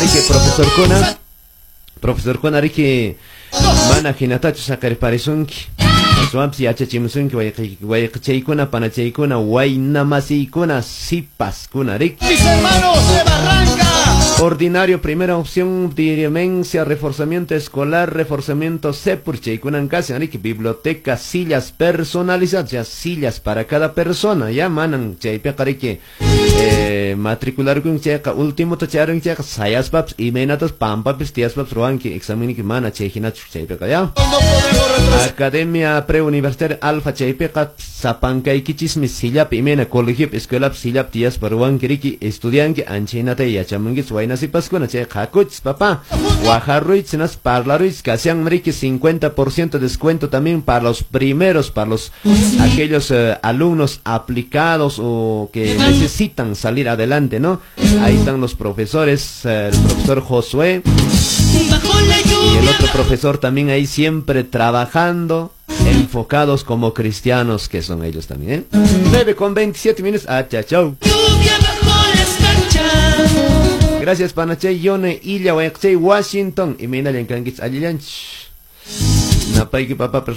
riki profesorkuna. Profesorkuna riki mana hinatachu saqirparisunki. Aswanpis yachachimusunki wayqichaykuna, panachaykuna, waynamasiykuna, sipaskuna riki. Mis hermanos de Barranca. Ordinario, primera opción, demencia, reforzamiento escolar, reforzamiento CEPUR, chaykunan kashan, riki, biblioteca, sillas personalizadas, ya sillas para cada persona, ya manan chaypiqa riki, matricularkun chayqa, último chayarun chayqa, sayaspapas, imaynatas pampapis tiyaspapas ruwanki, exameniki mana chay hinachu chaypiqa, ya. No podemos retroceder. Academia Preuniversitaria Alfa chaypiqa sapankaykichismi sillapi imayna colegiopi escuelapi sillapi tiyaspa ruwanki riki estudianki anchaynata yachamunkichis wayna sipaskuna chayqa hakuchis papá wajarruychis hinaspa parlaruychis kashanmi riki 50% descuento también para los primeros, para los aquellos alumnos aplicados o que necesitan salir adelante, ¿no? Ahí están los profesores, el profesor Josué Bajo la y el lluvia, otro profesor también ahí siempre trabajando, enfocados como cristianos que son ellos también, ¿eh? 9:27. Ah, chao, chao. Lluvia bajo la escarcha. Gracias, Panachay, Yone, Illa, Wayaqchay, Washington. Y Minalan kankichis allillanchis. Napayki, papá, persona.